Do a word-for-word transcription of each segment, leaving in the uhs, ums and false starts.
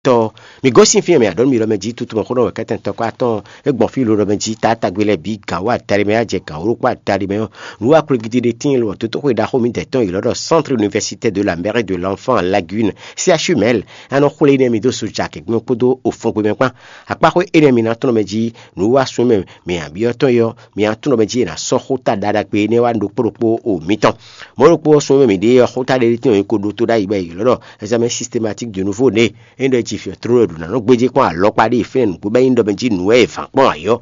tɔ. Mi gosín fí e mɛ aɖɔ̌ mi ɖɔ mɛ jí tutu mɔ̌ xó nɔ wɛ kɛ́tɛn tɔkpá tɔn e gbɔn fí lǒ ɖɔ mɛ jí taátagbe lɛ́ɛ bǐ gǎn wú adaɖé mɛ, á jɛ gǎn wú ɖokpó adaɖé mɛ ɔ́, nǔ wá klogidi ɖé tíin lo ɔ́, tótóxwe ɖaxó mi dɛ̌ tɔn yě lɔ́ ɖɔ Centre Universitaire de la Mère et de l'Enfant Lagune, C H U Mɛl, a nɔ xwlé énɛ́ mi dó Sojak gbɛ́ kpódó Ofɔngbe mɛ kpán. Akpáxwé énɛ́ mi ná tlɔ́n mɛ jí nǔ wá sun mɛ mi abyɔ́ tɔn yɔ, mi ná tlɔ́n mɛ jí è nǎ sɔ́ xóta ɖaɖagbe énɛ́ wá ɖokpó ɖokpó o mitɔn. Mɔ̌ ɖokpó ɔ́ sun mɛ mi ɖe ɔ́, xóta ɖé tɔn e ko ɖótó ɖ'ayǐ bɔ è ylɔ́ ɖɔ examen systématique de nouveau né. É ɖɔ jí fiɔ tló ɖo nǎ nɔ gbéjé kpɔ́n alɔkpa ɖé fínɛ́ nǔgbó bɔ é nyí ɖɔ mɛ jí nǔ wɛ è vǎn kpɔ́n ayɔ.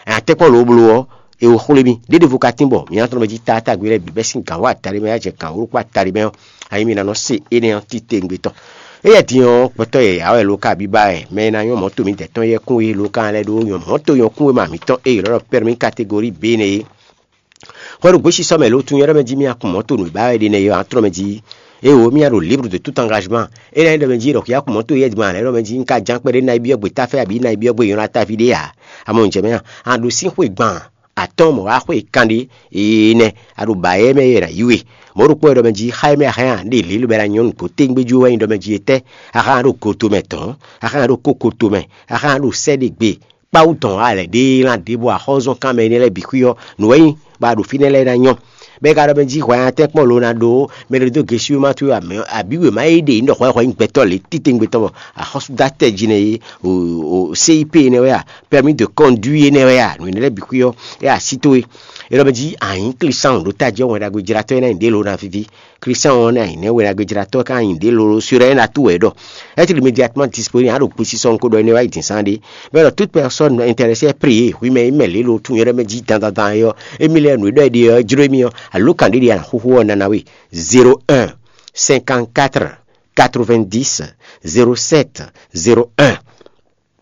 Atɛ́kpɔ́n loblo ɔ́, è wo xwlé mì ɖěɖevo ka tín bɔ mǐ ná tlɔ́n mɛ jí taátagbe lɛ́ɛ bǐ bɛ́ sín gǎn wá adaɖé mɛ, á jɛ gǎn wú kpó adaɖé mɛ ɔ́, ayi mì ná nɔ se énɛ́ ɔ́ titewungbe tɔn. Éyɛ́ din ɔ́, gbɛtɔ́ yɛ̌yá wɛ lo ka bíbá wɛ, mɛ e ná nyɔ́ mɔ̌to mǐdɛɛ tɔn yɛ́ kún é lo ka lɛ́ ɖó nyɔ́ mɔ̌to nyɔ́ kún wéma mǐtɔn e è ylɔ́ ɖɔ permis catégorie B nɛ́ é. Hwɛ ɖo gběsisɔ mɛ lo tunwun ɖɔ mɛ jí mì akun mɔ̌to nǔ e ba wɛ ɖe nɛ́ é ɔ́, a tlɔ́n mɛ jí. Éwo mì ɖo libre de tout engagement. É ná nyí ɖɔ mɛ jí ɖɔ xi akun mɔ̌to yɛ di ma lɛ́ ɖɔ mɛ jí un ka ján kpɛɖé ná yi byɔ́ gbe táfɛ abǐ ná yi byɔ́ gbe nyɔ́ ná táví ɖé ǎ. Amɔ un jɛ mɛ a, a ɖo sín xwe gban atɔ́ɔ́n mɔ̌ wá xwe kanɖé. Énɛ́ a ɖo ba yɛ mɛ yɛ ná yí we. Mɔ̌ ɖokpó wɛ ɖɔ mɛ jí xá e mɛ a hɛn a ɖe lě lobɛ ná nyɔ́ nǔgbó tégbéjú wɛ nyí ɖɔ mɛ jí etɛ́? A hɛn a ɖo goto mɛ dɔ̌n, a hɛn a ɖo kokoto mɛ, a hɛn a ɖo sɛ́ ɖe gbe. Kpawú dɔn a lɛ̌ ɖe lan ɖě bɔ axɔ́zɔ́nkan mɛ énɛ́ lɛ́ɛ bǐ xwí ɔ́, nǔ wɛ nyí bɔ a ɖo fínɛ́ lɛ́ɛ ná nyɔ́. Bɔ é ka ɖɔ mɛ jí hwɛ atɛ́nkpɔ́n lo ná ɖó mɛ ɖé dó gesúmátú abǐ wěma e ɖe nyí ɖɔ hwɛ hwɛ nyí gbɛtɔ́ lě titewungbe tɔn bɔ axɔ́súdatɛ́ jí nɛ́ é, o C I P énɛ́ wɛ a, permis de conduire énɛ́ wɛ a, nǔ énɛ́ lɛ́ɛ bǐ xwí ɔ́, é así towe. É ɖɔ mɛ jí a nyǐ klísáhùn ɖó tají ɔ́, Wɛn Ɖagbe jlátɔ́ énɛ́ nyí ɖě lo ná víví. Christian ɔ́ nɛ́ anyǐnɛ́ wɛ ɖagbe jlátɔ́ ká nyi ɖě lolo syrɛ́ ná tú wɛ ɖɔ. Être immédiatement disponible, a ɖo kpesisɔ nukó ɖɔ énɛ́ wá yi din sán ɖé. Bɔ ɖɔ toute personne intéressée est priée, hwi mɛ yi mɛ lě lo tún yɔ́ ɖɔ mɛ jí dandandan ɔ́, émí lɛ́ɛ nǔ e ɖɔ é ɖe ɔ́ jló émí ɔ́, alo kan ɖé ɖe a nǎ xúxú ɔ́ nana we. Zéro un, cinquante-quatre, quatre-vingt-dix, zéro sept, zéro un.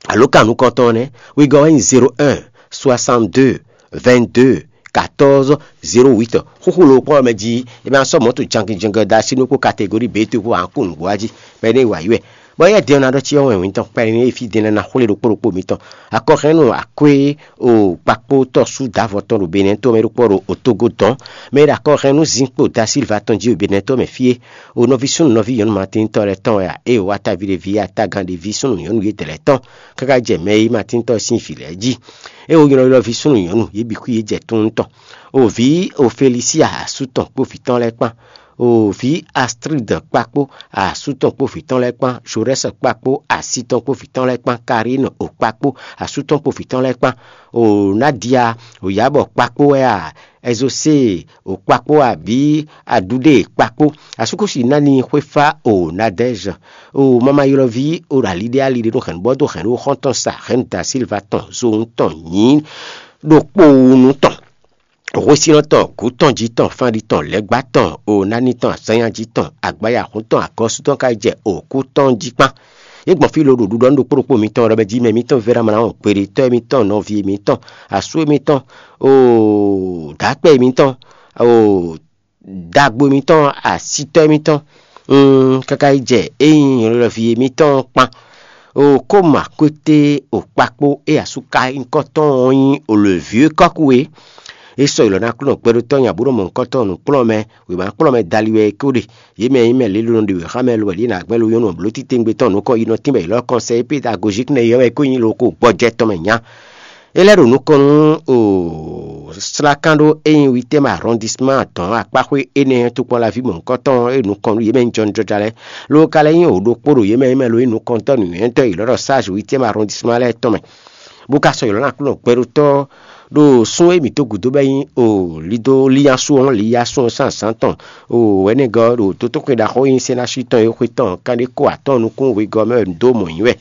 Alo kan nukɔntɔn nɛ́, wegɔ́ wɛ nyí zéro un, soixante-deux, vingt-deux, quatorze, zéro huit. Xúxú lo kpɔ́n mɛ jí, é ma sɔ́ mɔ̌ to jankinjɔngɔ da así nú kpó kategori bětú kpó ankú nǔgbó wá jí, bɔ é ní wa yi wɛ. Bɔ éyɛ́ din ɔ́ ná ɖɔ cyɔ wɛn wǐntɔn kpɛɖé ní fí din lɛ́ɛ ná xwlé ɖokpó ɖokpó mitɔn. Akɔxɛnnú akwé o kpakpó tɔ́sú dǎvɔ tɔn ɖo Benɛ́ to mɛ ɖokpó ɖo Otogo dɔn. Mɛ e ɖo akɔxɛnnú zinkpo da Silva tɔn jí ɖo Benɛ́ to mɛ fí é. O nɔví súnnu nɔví nyɔ̌nu Matín tɔn lɛ́ɛ tɔn wɛ a? Ée o wá taví ɖé ví atágan ɖé ví súnnu nyɔ̌nu yědɛɛ lɛ́ɛ tɔn, káká jɛ mɛ e nyí Matín tɔn sín vǐ lɛ́ɛ jí. É wo nylɔ́ylɔ́ví súnnu nyɔ̌nu yě bǐ xwí yě jɛ tunwun tɔn. O vǐ Ofelisia asú tɔn kpó vǐ tɔn lɛ́ɛ kpán. O vǐ Astrid kpakpó asú tɔn kpó vǐ tɔn lɛ́ɛ kpán, Jorɛ́s kpakpó así tɔn kpó vǐ tɔn lɛ́ɛ kpán, Karín o kpakpó asú tɔn kpó vǐ tɔn lɛ́ɛ kpán. O Nadia o Yabɔ kpakpó wɛ a? Ɛzosée o kpakpó abǐ Aɖuɖée kpakpó. Asúkúsi nani xwéfá o Nadɛ́zɔ o mamayɔlɔví o ɖo aliɖéali ɖé nú hɛ̌nnubɔ́ dó hɛ̌nnu xɔ́ntɔn sa hɛ̌nnu da Silva tɔn zowun tɔn nyǐ ɖokpowunu tɔn. Hwesínɔ tɔn, gǔ tɔn, jí tɔn, fánɖí tɔn, lɛ̌gbá tɔn, o nání tɔn, azánnyájí tɔn, agbáyahún tɔn, agɔ́sú tɔn ka yi jɛ òkú tɔn jí kpán. É gbɔn fí lo ɖo ɖuɖɔ nú ɖokpó ɖokpó mitɔn ɖɔ mɛ jí mɛ mitɔn vɛ́ ná mlá ɔn kpeɖé, tɔ́ émítɔn, nɔví émítɔn, asú émítɔn, o dǎkpɛ émítɔn, o dagbo émítɔn, asítɔ́ émítɔn, un káká yi jɛ é nyí nyɔ̌ɖɔlɔví émítɔn kpán. O kóma kwété o kpakpó é asú ka nyí kɔ́tɔn ɔ́ nyí o le vieux kɔ́kú é. É sɔ́ yi lɔ ná kplɔ́n gbɛɖótɔ́ nya bó nɔ mɔ nukɔntɔn nǔkplɔ́nmɛ, wěma kplɔ́nmɛ dali wɛ é ko ɖe. Yě mɛ e nyí mɛ lě ló nɔ ɖe wěxámɛ lo wɛ ɖě ná gbɛ́ lo nyɔ́nu bló titewungbe tɔn nǔkɔn yi nɔ tínbɔ yi lɔ́ kɔnsɛ pédagojik nɛ́ yɔ́ wɛ é ko nyí lo ko gbɔjɛ tɔn mɛ nya. É lɛ́ ɖo nukɔn nú o slákán ɖó é nyí huitième arrondissement dɔn akpáxwé énɛ́ tokpɔnlaví mɔ̌hunkɔtɔn e nukɔn nú yě mɛ nyí jɔnjɔja lɛ́ɛ, ló ka lɛ́ nyí o ɖokpó ɖo yě mɛ e mɛ lo nyí nukɔntɔ́ nǔnywɛ́tɔ́ yě lɔ́ ɖɔ sage huitième arrondissement lɛ́ɛ tɔn mɛ. Bó ka sɔ́ ylɔ́ ná Aklúnɔ gbɛɖótɔ́ ɖo sún e mǐ dó gǔdo bɔ é nyí o lido líyású ɔ́, líyású ɔ́ sín azǎn tɔn, o wɛ̌nɛgɔ́ ɖo dotóxwé ɖaxó e nyí Sɛ́nási tɔn e xwé tɔn kanɖé kó atɔ́ɔ́n nukún wegɔ́ mɛ wɛ un dó mɔ nyǐ wɛ.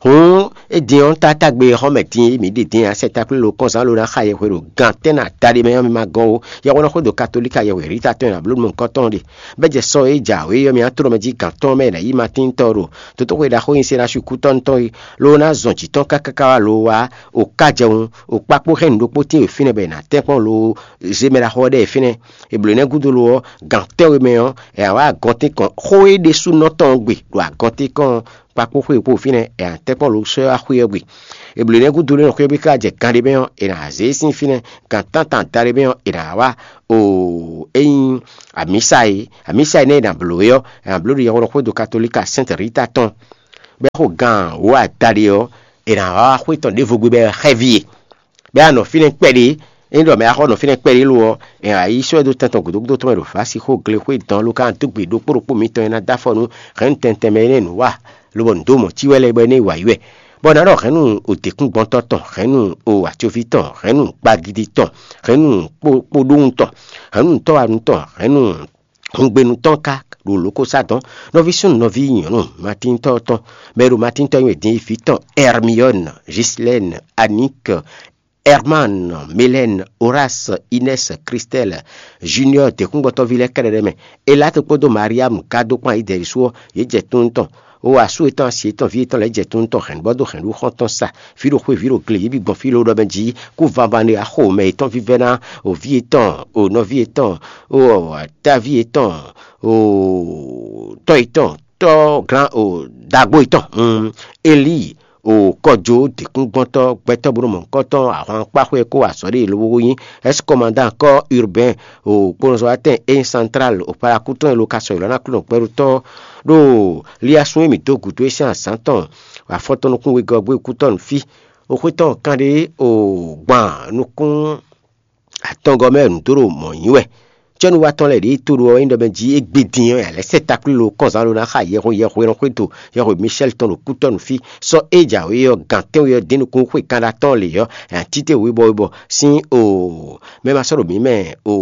Hǔn é din ɔ́, tátágbe e xɔ́ mɛ din e mǐ ɖe din ɔ́, asɛtákplélokɔ́nzán ló ná xa yɛhwe ɖo gan tɛ́ nú ada ɖé mɛ ɔ́, mi ma gɔ́n ó. Yɛhweɖɔxódo katolík yɛhweɖíta tɔn e ɖo ablǒɖuɖu kɔ́tɔn ɖe, bɔ é jɛ sɔ e jǎwe ɔ́ mɛ ɔ́ tlɔ́ mɛ jí gan tɔn mɛ è nǎ yí Matín tɔn ɖo dotóxwe ɖaxó e nyí Sɛ́nási kútɔ́nu tɔn é, ló ná zɔn jǐ tɔn káká wá lo wá o ká jɛwun, o kpákpó hɛn nǔ ɖokpó tín e fínɛ́ bɔ è nǎ tɛ́nkpɔ́n lo zé mɛ ɖaxó ɔ́ ɖɛ́ fínɛ́. È blǒ énɛ́ gúdo lo ɔ́, gan tɛ́nwe mɛ ɔ́, è nǎ wá agɔntínkɔn xó é ɖésúnɔ tɔn ɔ́ gbe ɖo agɔntínkɔn ɔ́ kpakpó xwé e kpo fínɛ́ è nǎ tɛ́nkpɔ́n lo sɔ́ wá xwé ɔ́ gbe. È blǒ énɛ́ gúdo lé nɔ xwé ɔ́ bí ká jɛ gan ɖé mɛ ɔ́, è nǎ zě e sín fínɛ́. Gan tántán da ɖé mɛ ɔ́, è nǎ wá o é nyí amǐsa e, amǐsa e nɛ́ è nǎ blǒ é ɔ́, è nǎ bló ɖo yɛhweɖɔxódo katolíka Sɛ́nti Rita tɔn. Bɛ́ xo gan wǒ adaɖé ɔ́, è nǎ wá xwé tɔn ɖěvo gbe bɔ é xɛ́ví e. Bɛ́ a nɔ fínɛ́ kpɛɖé, ényí ɖɔ mɛ a xɔ nɔ fínɛ́ kpɛɖé lo ɔ́, è nǎ yi sɔ́ ɛ dó tɛn tɔn gǔdo gúdo tɔn mɛ ɖo Vǎsixóglexwé dɔn ló ká dó gbe ɖokpó ɖokpó mitɔn e ná dó afɔ nú hɛ̌nnu tɛntɛn mɛ énɛ́ nǔ wa, lobɔ nǔ dó mɔ̌ cí wɛ lɛ́ɛ bɔ é ná yi wǎ yi wɛ. Bɔ nǎ ɖɔ hɛ̌nnu o děkúngbɔ́ntɔ́ tɔn, hɛ̌nnu o atyoví tɔn, hɛ̌nnu gbagidi tɔn, hɛ̌nnu kpóɖóhun tɔn, hɛ̌nnu tɔ́wanu tɔn, hɛ̌nnu hungbenu tɔn ká ɖo lǒ ko sá dɔn. Nɔví súnnu, nɔví nyɔ̌nu, matíntɔ́ tɔn, mɛ e ɖo matíntɔ́ nyi wɛ din é vǐ tɔn Ɛrmiyɔ́ni, Jislɛ́ni, Aník, Ɛrmán, Melɛ́ni, Orási, Inɛ́si, Kristɛ́li, Juniɔ́ɔ, děkúngbɔ́tɔ́ví lɛ́ɛ kɛ́ɖɛ́ mɛ. Elátɔ kpódó Maríamu ka dó kpán Izɛɛli su ɔ́, yě jɛ tunwun tɔn. Ó wa asú yětɔn, asi yětɔn, vǐ yětɔn lɛ́ɛ jɛ tunwun tɔn hɛ̌nbɔ́ dó hɛ̌nɖuxɔ tɔn sa, fí ɖo xwé, vǐ ɖo gle, yě bǐ gbɔn fí lóɖɔ mɛ jí. Kú vanvan ɖé wá xo mɛ yětɔn vívɛ́ ná, o vǐ yětɔn, o nɔví yětɔn, o táví yětɔn, o tɔ́ yětɔn, tɔ́ glán, o dagbo yětɔn, Elíi, o kɔjó dǐkúngbɔ́ntɔ́ gbɛtɔ́ bó nɔ mɔ nukɔntɔn ahwankpáxwé e kó wa azɔ̌ ɖe lobo nyí ɛ́skɔmandán kɔ́ Urbɛ́n, o kponɔzɔ́watɛn é nyí Santrál, o palakútɔn e lo ka sɔ́ ylɔ́ ná Aklúnɔ gbɛɖótɔ́ ɖo liasún e mǐ dó gǔdo é sín azǎn tɔn afɔtɔn nukún wegɔ́ gbé kútɔ́ nǔ fí. O xwé tɔn kanɖé o gban nukún atɔngɔ́ mɛ nǔ dó ɖo mɔ̌ nyi wɛ. Cɛ́núwatɔ́ lɛ́ɛ ɖě to ɖo ɔ́ nyí ɖɔ mɛ jí égbé din ɔ́, yě lɛ́ sɛ́ taklílo kɔnzán ɖó ná xa yɛhwe yɛhwe e nɔ xwedó yɛhwe Michɛ́l tɔn ɖo kútɔ́ nǔ fí. Sɔ́ é jǎwe ɔ́, gǎn tɛ́nwe ɔ́, dín nukún xwe kanɖa tɔn lě ɔ́, ɛ títewǔ bɔ bɔ sín o mɛ ma sɔ́ ɖo mǐ mɛ o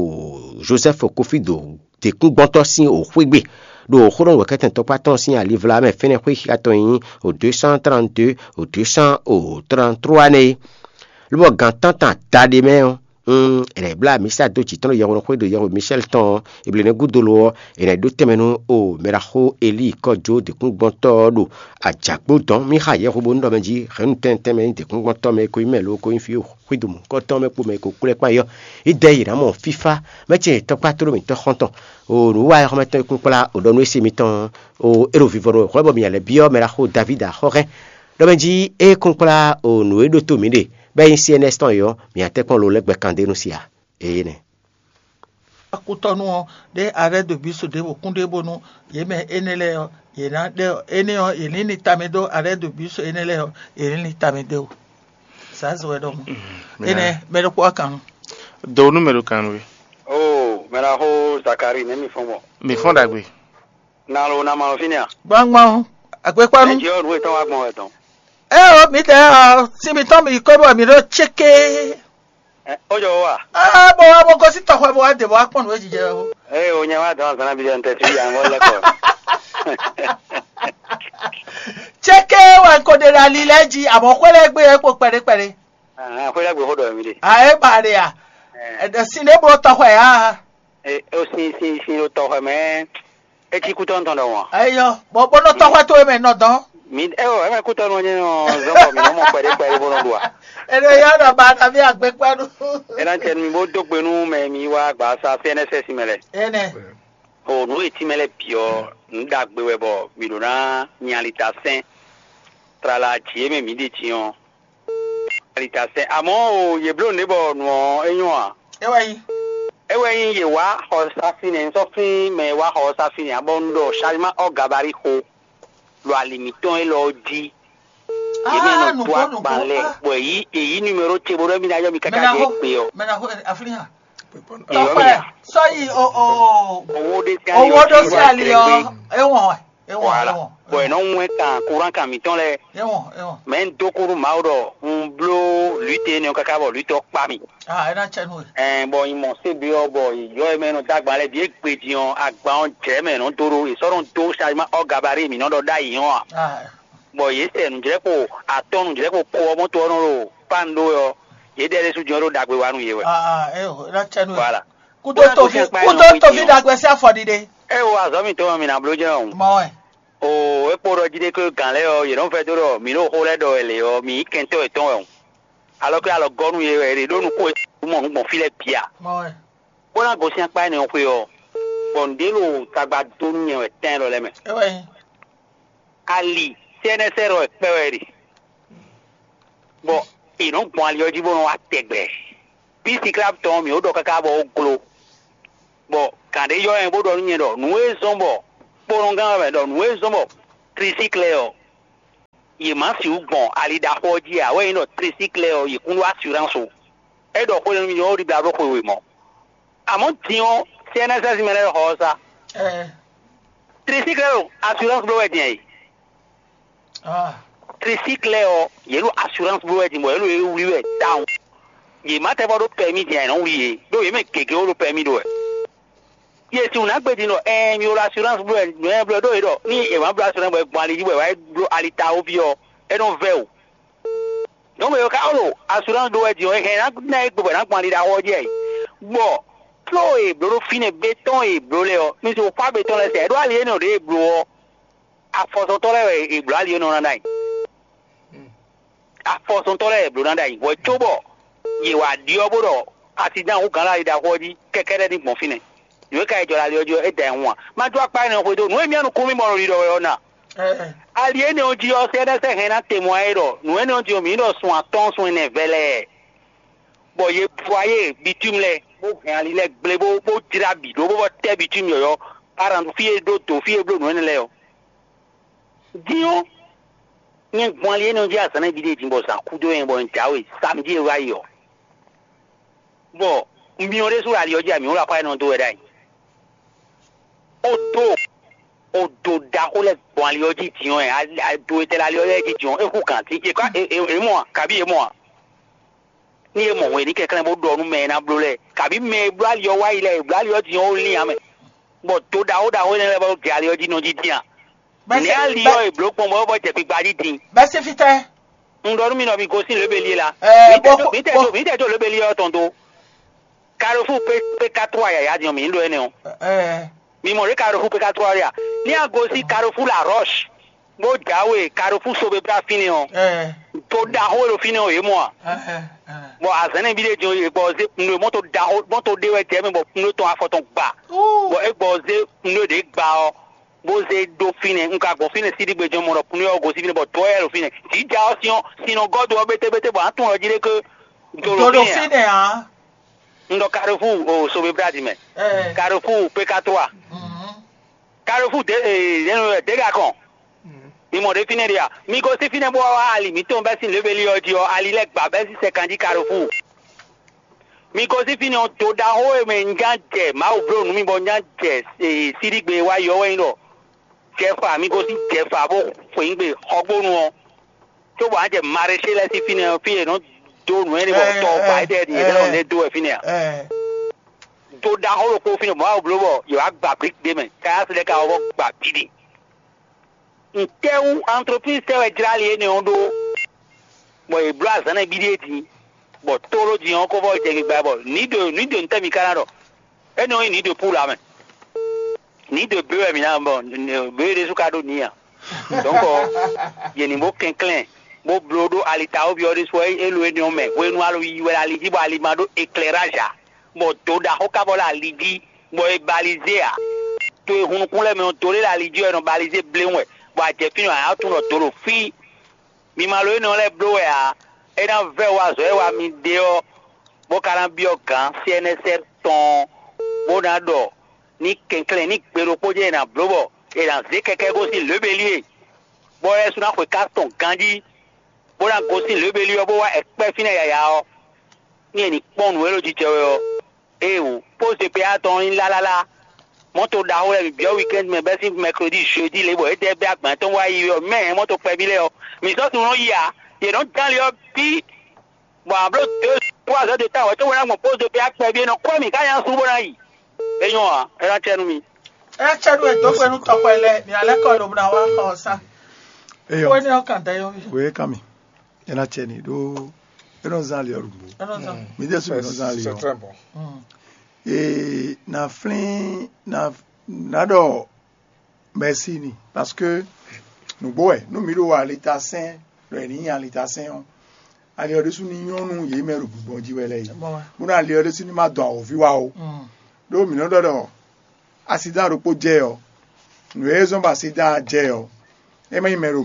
Jozɛ́fu Kofído děkúngbɔ́ntɔ́ sín o xwé gbe ɖo xó ɖɔ nǔwɛ́kɛ́tɛn tɔkpá tɔn sín alivla mɛ fɛ́nɛ́ xwé xixa tɔn e nyí o deux cent trente-deux, o deux cent trente-trois nɛ́ é. Lobɔ gǎn tántán adaɖé mɛ ɔ́, un è nǎ yi blá amǐsa dó jǐ tɔn ɖo yɛhweɖɔxwé ɖo yɛhwe Michɛ́l tɔn ɔ́, è blǒ nɛ́ gúdo lo ɔ́, è nǎ yi ɖó tɛnmɛ nú o mɛɖaxó Elíi kɔ́jó dǐkúngbɔ́ntɔ́ ɔ́ ɖo ajǎgbó dɔn. Mí xa yɛhweɖónú ɖɔ mɛ jí hɛ̌nnu tɛntɛn mɛ nyí dǐkúngbɔ́ntɔ́ mɛ e ko nyí mɛ lo ko nyí fí xwído mɔ̌hunkɔtɔn mɛ kpo mɛ e ko kplɔ́ ɛ kpán é ɔ́, yi dɛ yě ná mɔ fífá. Mɛ ce tɔkpá tlóló mǐtɔn xɔ́ntɔn, o nǔwiwa e xɔ́mɛtɔn e kún kplá o ɖɔ nú ése mitɔn, o é ɖo vivɔnu wɛ hwɛ̌ bɔ mǐ lɛ́ byɔ́ mɛɖaxó Davídi axɔ́ hɛn ɖɔ mɛ jí é kún kplá o nǔ e ɖótó mǐ ɖe bɔ é nyí C N S tɔn é ɔ́, mǐ ná tɛ́nkpɔ́n lo lɛ́ gbɛ kan dó nú si a? Énɛ́. Akutɔnu ɔ́ ɖe arrêt de bus ɖěvo kún ɖe bónú yě mɛ énɛ́ lɛ́ɛ ɔ́, yě ná ɖɛ énɛ́ ɔ́, yě ní ní tamɛ dó arrêt de bus énɛ́ lɛ́ɛ ɔ́, yě ní ní tamɛ dó. Zǎnzɔn wɛ ɖɔhun. Énɛ́ mɛ ɖokpó wá kan nú. Do nú mɛ ɖo kan nú we. Oo, mɛ ná xó Zakari nɛ̌ mi fɔ́n gbɔn? Mi fɔ́n ɖagbe. Na lo na ma lɔ fínɛ́ a? Gbangban o, agbekpanu. Ɛ jɛ ɔ́ nǔ e tɔn wá gbɔn wɛ tɔn. Ɛ o, mi tɛ ɔ, sin mitɔn mi kɔ bɔ mi ɖo tséké. Ɛ, ó jɔ wá. Aa, bɔ wá bɔ gosí tɔxɔ bɔ wá dè bɔ wá kpɔn nǔ e jijɛ o. Eye o nyɛ wá dɔn azan bi dɛ ntɛ ti yan wɔ lɛ kɔ. Tséké wɛ ko ɖe ɖe ali lɛ jí, àmọ́ xwé lɛ gbé yɛ kpo kpɛɖé kpɛɖé. Ahan, xwé lɛ gbé xó ɖɔ mi ɖe. A é ba ɖe a? Ɛ. Ɛɖɛ sin ɖé blo tɔxɔ ya. E o sin sin sin ɖo tɔxɔ mɛ. Etí kútɔ́ tɔn ɖɔhun a? Eyɔ, bɔ bó nɔ tɔxɔ towe mɛ nɔ dɔn. Mi ɛ o ɛ mɛ kútɔ́ nɔ nyɛ nɔ zɔn bɔ mi nɔ mɔ kpɛɖé kpɛɖé bó nɔ ɖu a? Eno yɔ nɔ ba na mi agbekpanu. Ena tɛ mi bó dó gbe nú mɛ mi wá gbasa C N S S mɛ lɛ. Ene. O nǔ e tínmɛ lɛ bǐ ɔ́, nǔ ɖagbe wɛ bɔ mi ɖo ná nyalita sɛn. Tlala jǐ e mɛ mǐ ɖe din ɔ́, nyalita sɛn. Amɔ̌ o yě bló nǔ ɖé bɔ nǔ ɔ́ é nyɔ́ ǎ. É wɛ nyí. É wɛ nyí yě wá xɔ safínɛ, un sɔ́ flín mɛ e wá xɔ safínɛ ǎ, bɔ un ɖɔ Salima ɔ́ gabari xo ɖo ali mǐtɔn élɔ́ jí. Yě mɛ nɔ dó agban lɛ, bɔ èyí èyí numéro ce bó ɖɔ mí ná yɔ mi káká jɛ gbe ɔ́. Mɛ na xo aflín hàn. Èyí ɔ́ mì Tɔkpɛ, sɔ́yi o o. Owó ɖé sí ali owó ɖó sí ali ɔ. Ewɔn wɛ. Ewɔn, voilà. Ewɔn. Bɔn ɛ nɔ ŋu ɛ kan kuran kan mǐtɔn lɛ. Ewɔn, ewɔn. Mɛ ń dó kúrú Mawu ɖɔ un bló lǔte énɛ́ ɔ́ káká bɔ lǔte ɔ́ kpá mì. Ah, ena tsɛ nú we. Ɛn bɔ nyi mɔ sébe ɔ́ bɔ yɔ ɛ mɛ nɔ dó agban lɛ bǐ é gbe din ɔ́, agban ɔ́ jlɛ̌ mɛ nɔ dó ɖó è sɔ́ nɔ dó Salima ɔ́ gabari mǐ nɔ ɖɔ ɖ'ayǐ ɔ́ a? Ah, Bɔ yě sɛ nǔjlɛ́kpo atɔ́ nǔjlɛ́kpo ko ɔ́ mɔ́ to ɔ́ nɔ ɖo pán ɖó wɛ ɔ́, yě ɖɛ ɖésú jɔ́n ɖó ɖagbe wa nú yě wɛ. Ah, ah, eh, ena tsɛ nú we. Voilà. Kúdó toví kúdó toví ɖagbe sí afɔ ɖiɖe. É wo azɔ̌ mǐtɔn mɛ mi ná bló jɛ́n o. Mɔ wɛ. O é kpo ɖɔ jí ɖé ké gǎn lɛ́ɛ ɔ́, yě nɔ vɛdó ɖɔ mǐ ɖo xó lɛ́ɛ ɖɔ wɛ lě ɔ́, mǐ nyí kɛntɔ́ yětɔn wɛ o. Alɔ ké alɔ gɔ́ nú yé wɛ, yě ɖó nú kó e mɔ nǔ gbɔn fí lɛ́ɛ bǐ a? Mɔ wɛ. Bó ná gosín akpá énɛ́ ɔ́ xwé ɔ́, bɔ nǔɖé ɖo tagba dó nú nyɛ wɛ tɛn lɔ lɛ́ɛ mɛ. É wɛ nyí. Ali C N S R wɛ kpɛ wɛ ɖe. Bɔ è nɔ gbɔn ali ɔ́ jí bó nɔ wá tɛgbɛ. Bí siklab tɔn ɔ́, mǐ ó ɖɔ káká bɔ ó glo. Bɔ gǎn ɖé yɔ ɛ bó ɖɔ nú nyɛ ɖɔ nǔ e zɔ́n bɔ kponɔgán wɛ mɛ ɖɔ nǔ e zɔ́n bɔ klisiklɛ ɔ́, Yě má sixú gbɔn ali ɖaxó ɔ́ jí ǎ, wɛ nyí ɖɔ tricycle ɔ́, yě kún ɖó assurance o. É ɖɔ xó nú mi ɔ́, ɖibla ɖó xwe wěmɔ. Àmɔ̌ din ɔ́, C N S S mɛ lɛ́ɛ xɔ ɔ́ sá. Tricycle ɔ́, assurance bló wɛ din ǎ é. Tricycle ɔ́, yě ɖo assurance bló wɛ din bɔ yě ɖo é wlí wɛ tawun. Yě má tɛ bɔ ɖó permis din ǎ, è nɔ wlí yě, ɖó yě mɛ gěgé wó ɖo permis ɖó wɛ. Yě sixú ná gbe din ɖɔ ɛɛn mi ɖo assurance bló wɛ, nǔ e bló ɖó yě ɖɔ ní è má bló assurance bɔ è gbɔn ali jí bɔ è wá bló ali ta ó ví ɔ́, é nɔ vɛ́ o. Donc yě ka ɔ́ ɖo assurance ɖó wɛ din ɔ́, è hɛn ná ná é gbe bɔ è nǎ gbɔn ali ɖaxó ɔ́ jí ǎ é. Bɔ tló e è blǒ ɖó fínɛ́ bétɔn e è blǒ lɛ́ɛ ɔ́, mi se xwá bétɔn lɛ́ɛ sɛ, è ɖó ali énɛ́ ɖě è blǒ ɔ́, afɔsɔntɔ́ lɛ́ɛ wɛ è blǒ ali énɛ́ ɔ́ ná ɖ'ayǐ. Afɔsɔntɔ́ lɛ́ɛ è blǒ ná ɖ'ayǐ, hwɛ cóbɔ yě wá ɖyɔ́ bó ɖɔ asidán hú gǎn ali ɖaxó ɔ́ jí kɛkɛ́ɖɛ́ ní gbɔn fínɛ́. Nǔ e ka yi jɔ ɖo ali ɔ́ jí ɔ́, é da ɛ hun ǎ. Má jó akpá énɛ́ xwedó nǔ e mì nukún mì mɔ ɖiɖɔ wɛ ɔ́ ná. Ali énɛ́ ɔ́ jí ɔ́, C N S hɛn ná te mɔ ɛ ɖɔ nǔ énɛ́ ɔ́ jí ɔ́, mǐ ɖɔ sun atɔ́ɔ́n sun ɛnɛ vɛlɛɛ, bɔ yě vɔ ayé bitúmi lɛ́ɛ, bó hɛn ali lɛ́ɛ gblé, bó bó jlá bǐ ɖó, bó bɔ tɛ́ bitúmi yɔ̌yɔ́, aran fí e ɖó dǒ fí e bló nǔ énɛ́ lɛ́ɛ ɔ́. Din ɔ́, nyɛ gbɔn ali énɛ́ ɔ́ jí azǎn nɛ́ ɖiɖe din bɔ zǎn kú dó nyɛ bɔ un jǎwe samjí e wá yi ɔ́. Bɔ myɔ ɖésú ɖo ali ɔ́ jí, amǐ wlá xwá énɛ́ ɔ́ dó wɛ ɖ'ayǐ. Ó dó ó dó ɖaxó lɛ́ɛ gbɔn ali ɔ́ jí din ɔ́, ado e tɛ ɖo ali ɔ́ lɛ́ɛ jí din ɔ́, é hú gǎn dín. È mɔ a? Kabí è mɔ a? Ní è mɔ hwenu ní kɛnklɛ́n bó ɖɔ nú mɛ e ná bló lɛ́ɛ, kabí mɛ e bló ali ɔ́ wá yi lɛ́ɛ, è bló ali ɔ́ din ɔ́, ó lín ǎ mɛ, bɔ do ɖaxó ɖaxó énɛ́ lɛ́ɛ bɔ gɛ ali ɔ́ jí nɔ jí dín a? Nɛ̌ ali ɔ́ è blǒ gbɔn bɔ é bɔ jɛ gbigba jí din? Bɛ́ sín fítɛ́? Un ɖɔ nú mi ɖɔ mi gosín lěbelí é la. Ɛ, mi tɛ bó- jó- mi tɛ bó- jó- mi tɛ jó lěbelí ɔ́ tɔn dó. Carrefour P- P quatre yǎyá din ɔ́, mǐ ní ɖó énɛ́ ɔ́. Ɛ, Mi mɔ ɖě Carrefour P quatre ɔ́ ɖe a? Ní a gosín Carrefour La Roche, bó jǎwe Carrefour Sobebra fínɛ́ ɔ́, ɛ, to ɖaxó e ɖo fínɛ́ ɔ́, yě mɔ a? Ɛ, ɛ. Bɔ azɛ̌nɛ́ bí ɖé jɔn yě gbɔ zé pneu mɔto ɖaxó mɔto ɖé wɛ jɛ mɛ bɔ pneu tɔn afɔ tɔn gba. Bɔ é gbɔ zé pneu ɖě gba ɔ́, bó zé ɖó fínɛ́. Un ka gbɔn fínɛ́ síɖígbe jɔn mɔ ɖɔ pneu ɔ́ gosín fínɛ́ bɔ dɔ̌ wɛ ɖo fínɛ́. Jǐ ja ɔ́, sin ɔ́, sin nɔ gɔ́ do ɔ́ bétébété bɔ a nǎ tunwun ɖɔ jí ɖé ké do ɖo Dodo fínɛ́ ǎ. Fínɛ́ ǎ. Un ɖɔ Carrefour o Sobebra din mɛ. Ɛ. Carrefour P quatre. Mhm. Carrefour dé e yɛn dé ga kɔn. Mi mɔ ɖé fínɛ́ ɖe a? Mi gosín fínɛ́ bó wá ali mǐtɔn bɛ́ sín lěbelí ɔ́ jí ɔ́, ali lɛ́ɛ gba bɛ́ sín sɛkan jí Carrefour. Mi gosín fínɛ́ ɔ́, do ɖaxó e mɛ un já jɛ Mawu bló nú mi bɔ un já jɛ e, síɖígbe wá yi ɔ́ wɛ nyí ɖɔ jɛfa, mi gosín jɛfa bó xweyǐgbe xɔgbónu ɔ́. Cóbɔ a jɛ Maraîcher lɛ́ɛ sín fínɛ́ ɔ́, fí e è nɔ dó nǔ énɛ́ bɔ tɔ ba étɛ́ din yě lɛ́ nɔ lɛ́ dó wɛ fínɛ́ ǎ. Ɛ, Do ɖaxó ɖokpó fínɛ́ bɔ Mawu bló bɔ yě wá gba blik ɖé mɛ, káyá sí lɛ́ɛ ka wá vɔ gba bǐ ɖe. Ntɛ́wú entreprise tɛ́ wɛ jlá ali énɛ́ ɔ́ ɖó, bɔ yě bló azǎn nɛ́ bíɖíe din, bɔ tóɖó din ɔ́ ko vɔ jɛ gbigba bɔ nǐ ɖo nǐ ɖo ntɛ́ mi ka ná ɖɔ? Énɛ́ ɔ́ nyí nǐ ɖo púla mɛ. Nǐ ɖo bě wɛ mǐ ná bɔ bě ɖésú ka ɖó nǐ ǎ. Donc yě ní bó kɛnklɛ́n bó bló ɖó alitawoví ɔ́ ɖésú é lo énɛ́ ɔ́ mɛ hwenu alo yiyi wɛ ali jí bɔ ali ma ɖó éclairage ǎ, bɔ do ɖaxó ka bɔ ɖo ali jí, bɔ è balize ǎ. To e hun nukún lɛ́ɛ mɛ ɔ́, do ɖé ɖo ali jí wɛ è nɔ balize bléwún wɛ, bɔ a jɛ fínɛ́ ɔ́, a nǎ tunwun ɖɔ do ɖo fí. Mi ma lo énɛ́ ɔ́ lɛ́ɛ bló wɛ ǎ. É ná vɛ́ wú azɔ̌ e wa mi ɖe ɔ́, bó ka ná byɔ́ gǎn C N S R tɔn ɔ́, bó ná ɖɔ ní kɛnklɛ́n ní gbe ɖokpó jɛ́n è nǎ bló bɔ è nǎ zé kɛkɛ́ gosín lěbelí e, bɔ é sú ná xwe ká tɔn ganjí, bó ná gosín lěbelí ɔ́, bó wá ɛkpɛ́ fínɛ́ yǎyá ɔ́, ní è nǐ kpɔ́n nǔ e ɖo jijɛ wɛ ɔ́. Éeǒ, póze pé atɔn nyí lálálá. Mɔ̌to ɖaxó lɛ́ɛ bǐ byɔ́ weekend mɛ bɛ́ sín mercredi, jeudi lě bɔ é dɛ bɛ́ agban tɔn wá yi ɔ́, mɛ mɔ̌to kpɛví lɛ́ɛ ɔ́, mǐ sɔ́ tunwun nɔ yi ǎ. Yě nɔ dán ali ɔ́ bí, bɔ a bló deux trois heures de temps wɛ tó wɛ ná gbɔn póze pé akpɛví e nɔ kɔ́ mǐ ká nya sú bó ná yi. É nyɔ́ ǎ, é ná cɛ nú mi. É ná cɛ nú we dó xwe nú tɔxwɛ lɛ́ɛ, mǐ ná lɛ́ kɔ lobo ná wá xɔ ɔ́ sá. Eyɔ, Xó énɛ́ ɔ́ kan dɛ yɔ́. Wě ká mi, é ná cɛ ni ɖó é nɔ zán ali ɔ́ ɖu nǔgbó. É nɔ zán. Mǐ ɖésú mǐ nɔ zán ali C'est ɔ́. Très bon. Ee, na flín na na ɖɔ mɛsi ni, parce que nǔgbó wɛ nú mǐ ɖo alitasɛn ɖɔ è nǐ nyi alitasɛn ɔ́, ali ɔ́ ɖésú ní nyɔ́ nú yě mɛ ɖo gbigbɔn jí wɛ lɛ́ɛ yi. Bó ná ali ɔ́ ɖésú ní má dɔn awǒvi wa ó. Ɖó mǐ nɔ ɖɔ ɖɔ asidan ɖokpó jɛ ɔ́, nǔ e zɔ́n bɔ asidan jɛ ɔ́, é má nyí mɛ ɖo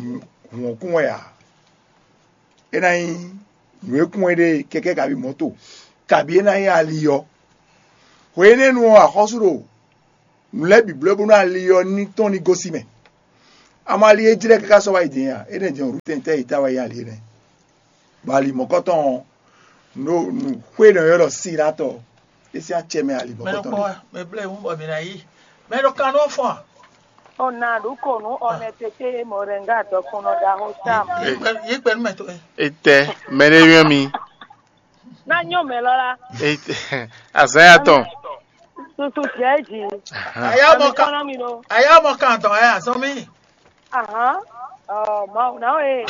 hǔn ɔ́ kún wɛ ǎ. É ná nyí nǔ e kún é ɖe kɛkɛ́ kabí mɔ̌to, kabí é ná nyí ali ɔ́. Hwe énɛ́ nu ɔ́, axɔ́sú ɖo nǔ lɛ́ɛ bǐ bló bónú ali ɔ́ ní tɔ́n ní gosín mɛ. Amɔ ali e jlɛ́ káká sɔ́ wá yi din a? É nɛ́ jɛ́n wǔ tɛntɛ́ yi ta wá yi ali énɛ́. Bɔ ali mɔ̌kɔtɔn ɔ́, nǔ nǔ xwé nɔ ylɔ́ ɖɔ Silatɔ, é sín acɛ mɛ ali mɔ̌kɔtɔn. Mɛ ɖokpó wá, mɛ blɛ́ wú bɔ mǐ ná yí. Mɛ ɖo kan nɔ fɔ́n a? Ona ɖu ko nú honnêteté, moringa dɔkunnɔ ɖaxó Sam. Yí gbɛ nú mɛ towe. Etɛ, mɛ ɖé yɔ́n mi. Ná nyɔ́ mɛ lɔ la. Etɛ, azǎn ya tɔn. Susu jɛ ji. Aya mɔ kan. Kɔnɔ mi ɖo. Aya mɔ kan tɔn aya sɔn mi. Ahan. Ɔ, Mawu na o e.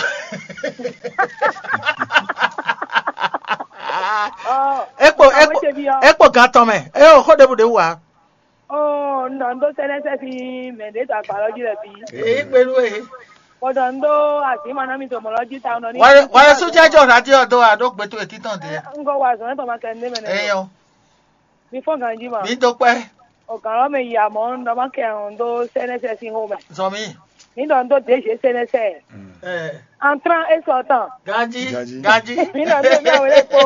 Ɔ, ekpo ekpo ekpo gan tɔn mɛ. E o xó ɖebu ɖe wú a? Ɔ, nɔ ndo sɛnɛ sɛ fi mɛ ɖe ta gbalɔ ji lɛ bi. Eyi gbenu e. Kpɔtɔ ndo azima na mi to mɔlɔ ji ta nɔ ni. Wale wale sojajɔ radio do a ɖo gbeto etitɔn de. N ko wa zɔn e tɔ ma kɛ ne mɛ ne. Eyɔ. Mi fɔ ganji ma. Mi do kpɛ. O kan lɔ mɛ yi amɔ n dɔ ma kɛ n do sɛnɛ sɛ sin ho mɛ. Zɔn mi. Mi dɔ n do D G sɛnɛ sɛ. Ɛ. Entrant et sortant. Ganji. Ganji. Ganji. Mi dɔ n do mi awele kpo.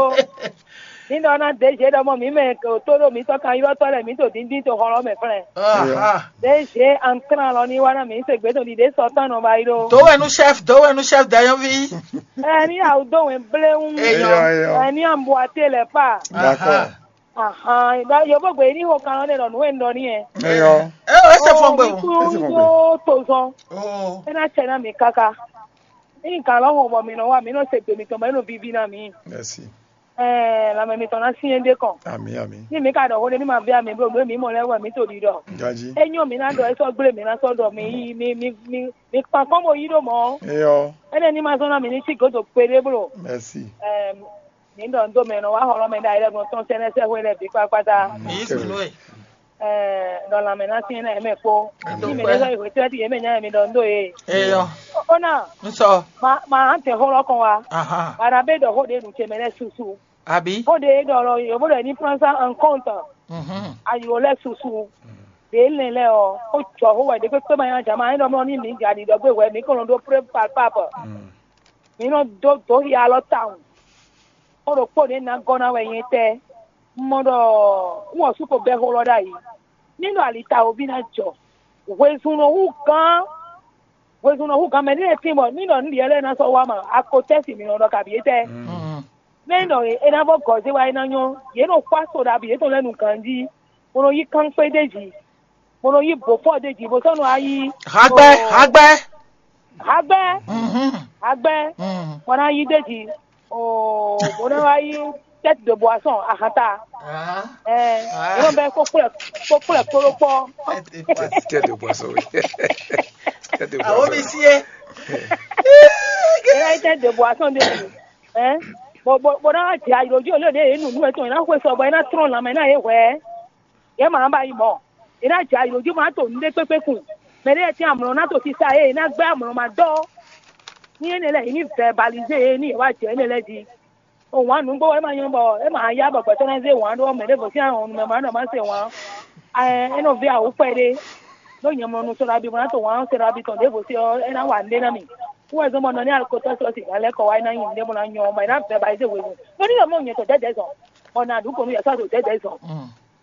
Mi dɔ na D G dɔ mɔ mi mɛ ko to ɖo mi tɔ kan yɔ tɔ lɛ mi to dindin to xɔlɔ mɛ flɛ. Aha. D G entrant lɔ ni wa na mi se gbe to di de sortant nɔ ba yi ɖo. Dowɛnu chef, dowɛnu chef dayɔvi. Ɛ ni awu do wɛn blewu. Eyɔ. Eyɔ, eyɔ. Ɛ ni ambuate lɛ pa. D'accord. Ahan, ɖɔ yovógbe ní xo kan ɔ́ ɖe ɖɔ nǔ e un ɖɔ n'i wɛ. Eyɔ. É ɔ, é se fɔn gbe o. Ní kún dó tozɔn. Oh. É ná cɛ ná mi káká. Ní kan lɔ hɔn bɔ mi nɔ wa, mi nɔ se gbe mitɔn bɔ é nɔ vivi ná mi. Merci. Ɛɛ, lanmɛ mitɔn ná syɛ́n ɖé kɔn. Ami, ami. Ní mi ka ɖɔ xó ɖé ní ma vɛ mi bló nǔ e mi mɔ lɛ́ɛ wɛ mi to ɖiɖɔ. Gaji. É nyɔ mi ná ɖɔ é sɔ́ gblé mi ná sɔ́ ɖɔ mi yí mi mi mi mi kpan kɔn bo yí ɖó mɔ. Eyɔ. Énɛ́ ní ma zɔn ná mi ní sí gǒdo kpeɖé bló. Merci. Ɛɛ, mi ɖɔ n dó mɛ nɔ wá xɔlɔ́ mɛ ɖ'ayǐ lɛ́ɛ gbɔn tɔn sɛnɛsɛ hwe lɛ́ɛ bǐ kpákpátá. Mi yi sunu e. Ɛɛ, ɖɔ lanmɛ ná syɛ́n ná yě mɛ kpo. Ní mi ɖésú yi hwetɛ́ ti yě mɛ nya mi ɖɔ n dó e. Eyɔ. Ó ná. N sɔ. Ma ma á tɛ xó lɔ kɔn wa. Ahan. Bana bɛ ɖɔ xó ɖe nu ce mɛ lɛ susu. Àbí. Xó ɖe ɖɔ lɔ yǒ bó ɖɔ ní prend ça en compte. Mhm. Ayi wò lɛ susu. Ɖě lɛn lɛ ɔ, ó jɔ xó wɛ ɖě kpékpé ma nyanya jǎ ma é ɖɔ mlɔ ní mi ja ɖiɖɔ gbé hwɛ mi kɔn nɔ ɖó preuve palpable. Mm. Mi nɔ dó dó xia alɔ tawun. Xó ɖokpó ɖě ná gɔ́ ná wɛ nyɛ tɛ́. Un mɔ ɖɔ un wɔ sú ko bɛ́ xó lɔ ɖ'ayǐ. Ní ɖɔ ali tawoví ná jɔ. Hwezun nɔ hú gán. Hwezun nɔ hú gán mɛ ní e tín bɔ ní ɖɔ ní ɖyɛ lɛ́ɛ ná sɔ́ wá ma, a ko tɛ́ sin mǐ nɔ ɖɔ kabǐ étɛ́. Mm. Mɛ e ɖɔ é ná vɔ gɔ̌ zé wá é ná nyɔ́, yě nɔ xwá so ɖabi yětɔn lɛ́ɛ nu ganjí, bó nɔ yí kánxwé d'é jí, bó nɔ yí bǒfɔ d'é jí, bó sɔ́ nɔ wá yí Hagbɛ, hagbɛ. Hagbɛ, Mhm. Hagbɛ, Mhm. Bó ná yí d'é jí, oo, bó ná wá yí tête de boisson, ahanta. Ah. Ɛ, Ah. Yě nɔ bɛ kó kplɛ kó kplɛ kpló kpɔ. Tête de boisson, oui. Tête de Awo boisson. Mi sie. Yě ná yí tête de boisson d'é jí. Ɛ, bó bó bó ná wá jɛ ayǐ lójú olóde yě nǔnú ɛ tɔn, yě ná xwe sɔ bɔ yě ná trɔ́n lanmɛ ná yě hwɛ̌. Yě ma ba yi mɔ̌. È nǎ jɛ ayǐ jí ma to nǔɖé kpékpé kun. Mɛ ɖé lɛ́ɛ tɛ́n amlɔ ná to sisa e è nǎ gbɛ́ amlɔ ma dɔ́. Ní énɛ́ lɛ́ɛ è ní vɛbalíze yě ní yě wá jɛ énɛ́ lɛ́ɛ jí. O wǎn nǔgbó wɛ é ma nyɔ́ bɔ é ma yá bɔ gbɛtɔ́ ná zé wǎn ɖó mɛ ɖěvo sín ahɔn nú mɛ ma ɖɔ má se wǎn. Ɛ é nɔ ví awǔ kpɛɖé. Ɖó nyɛ mlɔ nu sɔ́ ɖabi bó ná to wǎn sɔ́ ɖabi tɔn ɖěvo sí ɔ́, é ná wa nǔɖé ná mì. Kú wɛ zɔ́n bɔ nɔ ní alukotɔ́ sɔ́ sǐgá lɛ́ kɔ wá é ná nyi nǔɖé bó ná nyɔ́, bɔ é ná vɛbalíze hwenu. Ɖó ní yɔ mɔ nyɛ tɔn dɛ̌dɛ̌ zɔn, bɔ nǎ ɖu kɔnu yɛ sɔ́ ɖo dɛ̌dɛ̌ zɔn.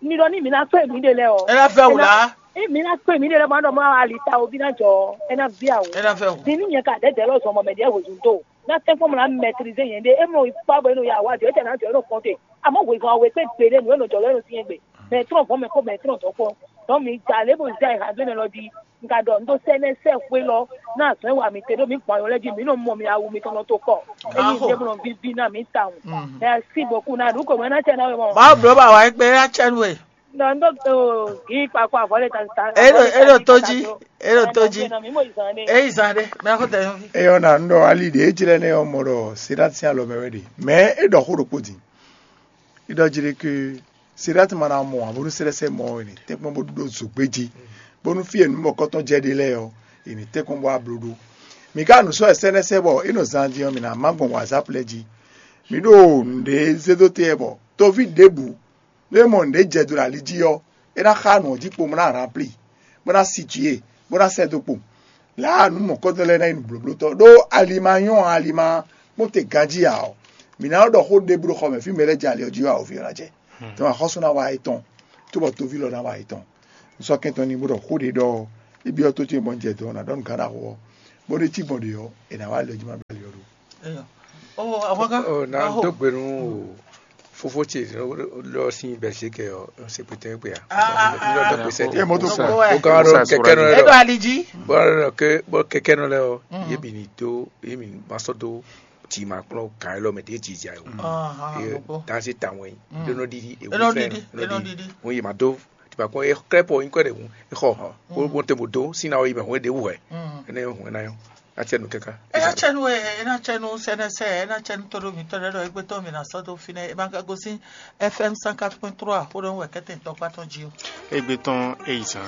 Mi ɖɔ ní mi ná kpé mǐɖée lɛ́ɛ ɔ́, É ná vɛ́ wǔ lá. É mi ná kpé mǐɖée lɛ́ɛ bó ná ɖɔ mɔ ali ta oví ná jɔ ɔ́, é ná ví awǒ. É ná vɛ́ wǔ. Din ní nyɛ ka dɛ̌dɛ̌ lɔ zɔn bɔ mɛ ɖěe hwezun dó. Ná tɛ́nkpɔ́n mɔ ná mɛtirize nyɛ ɖé, é mɔ yi kpá bɔ é nɔ ya wá jɔ, é tɛ ná jɔ é nɔ kɔn te. Amɔ̌ hwezun awe kpé gbeɖé nǔ e nɔ jɔ lɛ́ɛ nɔ syɛ́n gbe. Mɛ trɔ́n vɔ̌ mɛ kpó mɛ trɔ́n dɔ̌ kpó. Dɔ̌n mi ja lě bo zɛ ha dó nɛ lɔ jí. Un ka ɖɔ un ɖó sɛ́ nɛ́ sɛ́ xwé lɔ ná azɔ̌ e wa mǐ te ɖó mǐ gbɔn ayɔ lɛ́ɛ jí, mǐ nɔ mɔ mi awu mitɔn nɔ to kɔ. Ényí Aho. Ɖěbǔ nɔ víví ná mǐ tawun. Mm. Merci beaucoup ná ɖu kò mɛ ná cɛ ná we mɔ. Mawu bló ba wǎ é kpé ná cɛ nú we. Nɔ n ɖó gǐ kpakpa avɔ lé ta ta. E ɖo e ɖo tó jí, e ɖo tó jí. Mǐ mɔ ìzàn ɖé. E yi zan ɖé, mɛ ko tɛ yɔn fi. Eyɔ na ŋɖɔ ali ɖe edzi lɛ nɛ ɔmɔ ɖɔ Seɖati sín alɔ mɛ wɛ ɖe. Mɛ e ɖɔ xó ɖokpó din. Iɖɔ jí ɖe ke Seɖati ma ná mɔ ǎ bónú sɛ́lɛ́sɛ mɔ ɔ́, è nǐ tɛ́nkpɔ́n bó ɖó zǒgbéjí, bónú fí e nǔ mɔ̌kɔtɔn jɛ ɖe lɛ́ɛ ɔ́, è nǐ tɛ́nkpɔ́n bó wá bló ɖó. Mǐ ka nǔ sɔ́ wɛ sɛ́lɛ́sɛ bɔ é nɔ zan din ɔ́, mǐ ná má gbɔn wǎzápu lɛ́ɛ jí. Mǐ ɖo nǔɖé zé dó te wɛ bɔ toví ɖěbǔ, nú é mɔ nǔɖé jɛ do ɖo ali jí ɔ́, é ná xá nǔ ɔ́ jí kpo bó ná ranplí, bó ná si jǐ e, bó ná sɛ́ dó kpo. Lǎ nǔ mɔ̌kɔ́tɔn lɛ́ɛ ná nyí nǔblóblótɔ́, ɖó ali ma nyɔ́ ǎ, ali ma kpɔ́n te ganjí ǎ ɔ́, mǐ ná nɔ́ ɖɔ xó ɖěbǔ ɖo xɔ mɛ fí mɛ lɛ́ɛ jɛ ali ɔ́ jí wɛ awǒvi ɔ́ ná jɛ. Tɔn axɔ́sú ná wa etɔn, cóbɔ toví lɔ ná wa etɔn. Un sɔ́ kɛntɔn n'i bó ɖɔ xó ɖě ɖɔ Ibi ɔ́ tó ce mɔ jɛ dɔn na ɖɔ nǔ gán na xo ɔ́, bó ɖe cí gbɔn ɖe ɔ́, è nǎ wá lɛ jí ma ɖo ali ɔ́ ɖo. Eyɔ. Oh, àwọn kan. Ɔ na dó gbe nú fofó ce lɔ sín bɛsíkɛ ɔ sèpétɛ gbé a. Ah, ah, ah, Lɔ dó ah. gbèsè dé. Ẹ mɔ tó Sọ kọ. pé wá. Ó gán ɖɔ Musa kɛkɛ nɔ Edo lɛ. Alidji. Bɔn ke bɔ kɛkɛ nɔ lɛ ɔ. Mm. Yé mi ni dó yé mi ma sɔ dó tì ma kplɔn gán lɔ mɛ dé jìjà yó. Ahàn, Ye gbogbo. Dansi tawɛn yi. Mm. Ɖo nɔ ɖiɖi. Enɔ ɖiɖi, enɔ ɖiɖi. Ŋun yi ma dó. Tipa kpɔn ye klɛ pɔ yin kɔ ɖe ŋun. Exɔ hàn. Ó bɔn te mo dó sín na yi mɛ hɔn ɖe wú hɛ. Mm. Ene hɔn na yɔ. Atsɛ nu kɛka. Ena tsɛnu e ena tsɛnu sɛnɛsɛ ena tsɛnu tɔɖo mitɔ ɖe ɖɔ egbe tɔn mi na sɔdo fi nɛ ema ka gosin F M cent quatre point trois xo ɖo wɛ kɛtɛ tɔkpa tɔn ji o. Egbe tɔn eyi zan.